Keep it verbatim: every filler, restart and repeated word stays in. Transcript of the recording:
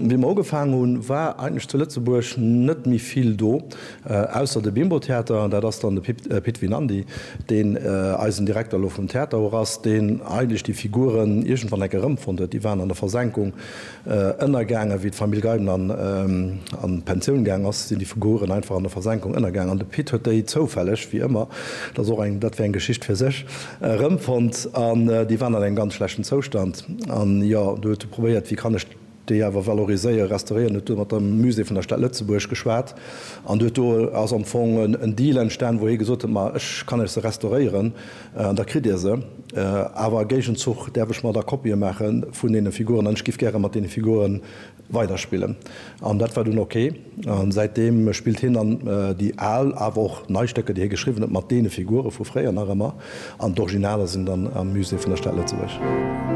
Wéi mer ugefaangen hunn, war eigentlech zu Lëtzebuerg net méi vill do, ausser de Bimbo-Theater. Dat ass dann de Pit Vinandy, deen eisen Direkter elo vum Theater och ass, deen eigentlech déi Figuren iergendwann enk erëmfonnt huet. Déi waren an der Versenkung ënnergaangen. Wéi d'Famill Geiben an d'Pensioun gaang ass, sinn déi Figuren einfach an der Versenkung ënnergaangen. An de Pit huet déi zoufälleg, wéi ëmmer, dat ass och eng, dat wär eng Geschicht fir sech, erëmfonnt. An déi waren an engem ganz schlechten Zoustand. An jo, du huet e probéiert, wéi kann ech déi awer valoriséieren, restauréieren, huet do mat dem Musée vun der Stad Lëtzebuerg geschwat an huet do ass am Fong en Deal entstan, wou hie gesot huet, ma ech kann iech se restauréieren an da kritt Dir se, awer a Géigenzuch däerf ech mer da Kopië maache vun deene Figuren an ech giff gäre mat deene Figure weiderspillen. An dat war dunn ok a säitdeem spillt hien dann déi al, awer och nei Stécker, déi hie geschriwwen huet, mat deene Figure vu fréier nach ëmmer an d'Originaler sinn dann am Musée vun der Stad Lëtzebuerg.